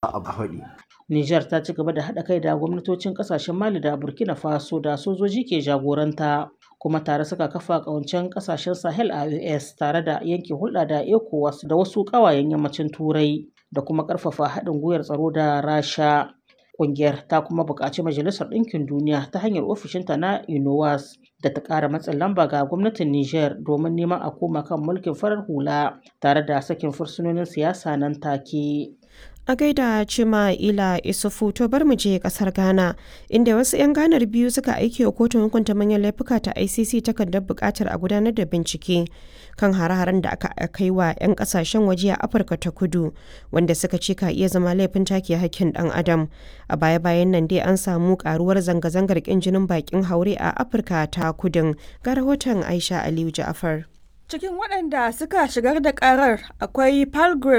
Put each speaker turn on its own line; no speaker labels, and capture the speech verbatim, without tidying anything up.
A faɗi.
Nijar ta ci gaba da haɗa kai da gwamnatocin ƙasashen Mali da Burkina Faso da sojoji ke jagoranta, kuma tare suka kafa ƙawancen ƙasashen Sahel I O S tare da yanke hulɗa da ECOWAS da wasu ƙawayen Yammacin Turai da kuma ƙarfafa haɗin gwiwar tsaro da Rasha. Ƙungiyar ta kuma buƙaci Majalisar Ɗinkin Duniya ta hanyar ofishinta na UNOWAS da ta ƙara matsin lamba ga gwamnatin Nijar domin neman a koma kan mulkin farar hula tare da sakin fursunonin siyasa nan take.
A gaida Cima Ila Isufu. To, bar mu je kasar Ghana, inda wasu 'yan Ghanar biyu suka aiki wa kotun hukunta manyan laifuka ta I C C takardar bukatar a gudanar da bincike kan hare-haren da aka kai wa 'yan kasashen waje a Afirka ta Kudu, wanda suka ce ka iya zama laifin take hakkin dan adam. A baya-bayan nan dai an samu karuwar zanga-zangar kin jinin bakin haure a Afirka ta Kudun. Ga rahoton Aisha Aliyu Ja'afar.
Cikin waɗanda suka shigar da ƙarar akwai Palgrave